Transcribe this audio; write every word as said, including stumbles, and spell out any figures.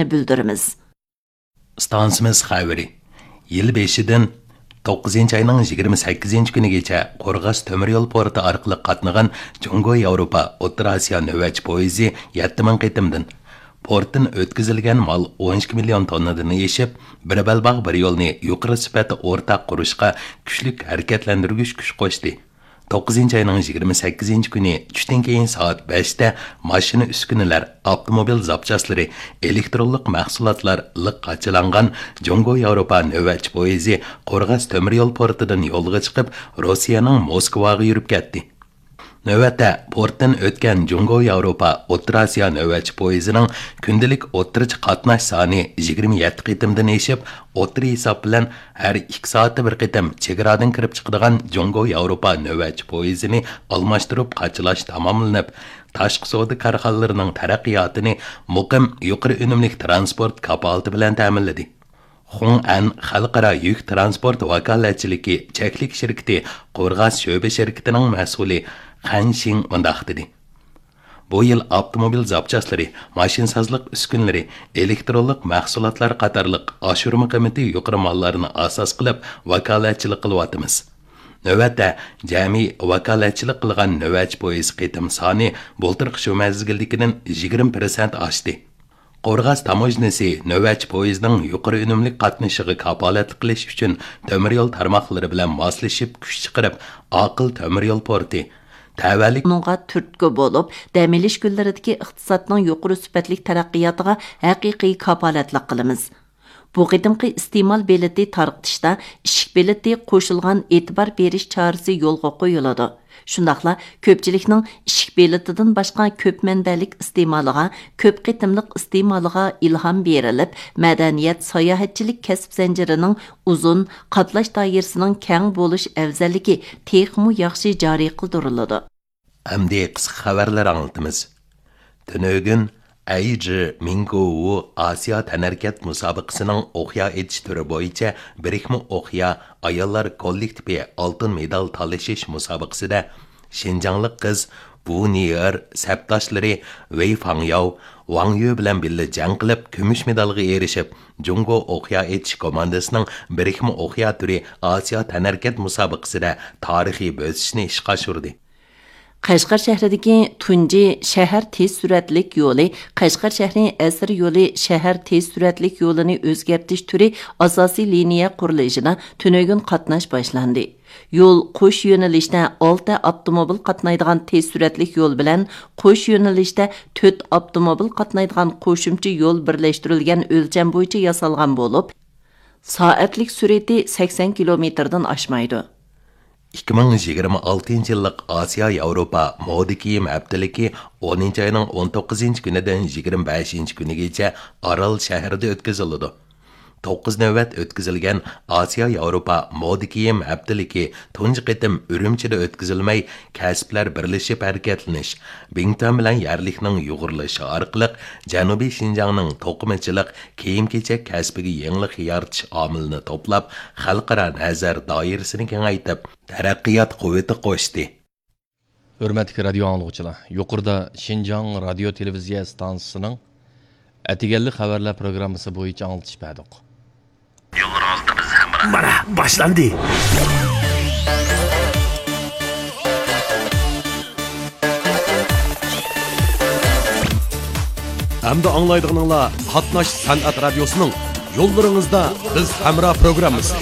بىلدۈرىمىز. ئىستانسىمىز خەۋىرى. يىل بېشىدىن توققۇزىنچى ئاينىڭ يىگىرمە سەككىزىنچى كۈنىگىچە قورغاس تۆمۈر يول پورتى ئارقىلىق قاتنىغان جۇڭگو ياۋروپا ئوتتۇرا ئاسىيا نۆۋەتچى پويىزى يەتتە مىڭ قېتىمدىن، پورتتىن ئۆتكۈزۈلگەن مال ئون ئىككى مىليون توننىدىن ئېشىپ، بىر بەلباغ بىر يولنى يۇقىرى سۈپەتتە ئورتاق قۇرۇشقا كۈچلۈك ھەرىكەتلەندۈرگۈچ كۈچ قوشتى. توققۇزىنچى ئاينىڭ يىگىرمە سەككىزىنچى كۈنى چۈشتىن كېيىن سائەت بەشتە ماشىنا ئۈسكۈنىلەر، ئاپتوموبىل زاپچاسلىرى، ئېلېكترونلۇق مەھسۇلاتلار لىق قاچىلانغان جۇڭگو ياۋروپا نۆۋەتچى پويىزى قورغاس تۆمۈر يول پورتىدىن يولغا چىقىپ، روسىيەنىڭ موسكۋاغا يۈرۈپ كەتتى. نۆۋەتتە، پورتتىن ئۆتكەن جۇڭگو ياۋروپا ئوتتۇرا ئاسىيا نۆۋەتچى پويىزىنىڭ كۈندىلىك ئوتتۇرىچە قاتناش سانى يىگىرمە يەتتە قېتىمدىن ئېشىپ، ئوتتۇرا ھېساب بىلەن ھەر ئىككى سائەتتە بىر قېتىم چېگرادىن كىرىپ چىقىدىغان جۇڭگو ياۋروپا نۆۋەتچى پويىزىنى ئالماشتۇرۇپ قاچىلاش تاماملىنىپ، تاشقى سودا كارخانىلىرىنىڭ تەرەققىياتىنى مۇقىم يۇقىرى ئۈنۈملۈك تىرانسپورت كاپالىتى بىلەن تەمىنلىدى. خۇڭئەن خەلقئارا يۈك تىرانسپورت ۋاكالەتچىلىكى چەكلىك شىركىتى قورغاس شۆبە شىركىتىنىڭ مەسئۇلى خەن شىڭ مۇنداق دېدى: بۇ يىل ئاپتوموبىل زاپچاسلىرى، ماشىنىسازلىق ئۈسكۈنىلىرى، ئېلېكترونلۇق مەھسۇلاتلار قاتارلىق ئاشۇرما قىممىتى يۇقىرى ماللارنى ئاساس قىلىپ ۋاكالەتچىلىك قىلىۋاتىمىز. نۆۋەتتە جەمئىي ۋاكالەتچىلىك قىلغان نۆۋەتچى پويىز قېتىم سانى بۇلتۇرقى شۇ مەزگىلدىكىدىن يىگىرمە پىرسەنت ئاشتى. قورغاس تاموژنىسى نۆۋەتچى پويىزنىڭ يۇقىرى ئۈنۈملۈك قاتنىشىغا كاپالەتلىك قىلىش ئۈچۈن تۆمۈر يول تارماقلىرى بىلەن ماسلىشىپ كۈچ چىقىرىپ، ئاقىل تۆمۈر يول پورتى، تەۋەلىك ئۇنىڭغا تۈرتكە بولۇپ، دەم ئېلىش كۈنلىرىدىكى ئىقتىسادنىڭ يۇقىرى سۈپەتلىك تەرەققىياتىغا ھەقىقىي كاپالەتلىك قىلىمىز. بۇ قېتىمقى ئىستېمال بېلىتى تارقىتىشتا ئىشىك بېلىتى قوشۇلغان ئېتىبار بېرىش چارىسى يولغا قويۇلىدۇ. شۇنداقلا كۆپچىلىكنىڭ ئىشىك بېلىتىدىن باشقا كۆپ مەنبەلىك ئىستېمالىغا، كۆپ قېتىملىق ئىستېمالىغا ئىلھام بېرىلىپ، مەدەنىيەت، ساياھەتچىلىك كەسىپ زەنجىرىنىڭ ئۇزۇن، قاتناش دائىرىسىنىڭ كەڭ بولۇش ئەۋزەللىكى تېخىمۇ ياخشى جارى قىلدۇرۇلىدۇ. ئەمدى قىسقا خەۋەرلەر ئاڭلىتىمىز. تۈنۈگۈن ئەيجى مىڭگوۋۇ ئاسىيا تەنھەرىكەت مۇسابىقىسىنىڭ ئوقيا ئېتىش تۈرى بويىچە بىرىكمە ئوقيا ئاياللار كوللېكتىپى ئالتۇن مېدال تالىشىش مۇسابىقىسىدە شىنجاڭلىق قىز ۋۇ نىئېر سەپداشلىرى ۋېي فاڭياۋ، ۋاڭ يۈ بىلەن بىللە جەڭ قىلىپ، كۈمۈش مېدالغا ئېرىشىپ، جۇڭگو ئوقيا ئېتىش كوماندىسىنىڭ بىرىكمە ئوقيا تۈرى ئاسىيا تەنھەرىكەت مۇسابىقىسىدە تارىخىي بۆسۈشنى ئىشقا ئاشۇردى. قەشقەر شەھىرىدىكى تۇنجى شەھەر تېز سۈرئەتلىك يولى، قەشقەر شەھىرى ئەسىر يولى شەھەر تېز سۈرئەتلىك يولىنى ئۆزگەرتىش تۈرى ئاساسىي لىنىيە قۇرۇلۇشىدا تۈنۈگۈن قاتناش باشلاندى. يول قوش يۆنىلىشتە ئالتە ئاپتوموبىل قاتنايدىغان تېز سۈرئەتلىك يول بىلەن قوش يۆنىلىشتە تۆت ئاپتوموبىل قاتنايدىغان قوشۇمچە يول بىرلەشتۈرۈلگەن ئۆلچەم بويىچە ياسالغان بولۇپ، سائەتلىك سۈرئىتى سەكسەن كىلومېتىردىن ئاشمايدۇ. ئىككى مىڭ يىگىرمە ئالتىنچى يىللىق ئاسىيا ياۋروپا مودا كىيىم ھەپتىلىكى ئونىنچى ئاينىڭ ئون توققۇزىنچى كۈنىدىن يىگىرمە بەشىنچى كۈنىگىچە ئارال شەھىرىدە ئۆتكۈزۈلىدۇ. توققۇز نۆۋەت ئۆتكۈزۈلگەن ئاسىيا ياۋروپا مودا كىيىم ھەپتىلىكى تۇنجى قېتىم ئۈرۈمچىدە ئۆتكۈزۈلمەي، كەسىپلەر بىرلىشىپ ھەرىكەتلىنىش، بىڭتۈەن بىلەن يەرلىكنىڭ يۇغۇرۇلۇشى ئارقىلىق جەنۇبىي شىنجاڭنىڭ توقۇمىچىلىق، كىيىم-كېچەك كەسپىگە يېڭىلىق يارىتىش ئامىلىنى توپلاپ، خەلقئارا نەزەر دائىرىسىنى كېڭەيتىپ، تەرەققىيات قۇۋۋىتى قوشتى. ھۆرمەتلىك رادىيو ئاڭلىغۇچىلار، يۇقىرىدا شىنجاڭ رادىيو تېلېۋىزىيە ئىستانسىسىنىڭ ئەتىگەنلىك خەۋەرلەر پروگراممىسى بويىچە ئاڭلىتىش بەردۇق. يوللىرىڭىزدا بىز ھەمراھ. مانا، باشلاندى. ئەمدى ئاڭلايدىغىنىڭلار قاتناش سەنئەت رادىيوسىنىڭ يوللىرىڭىزدا بىز ھەمراھ پروگراممىسى.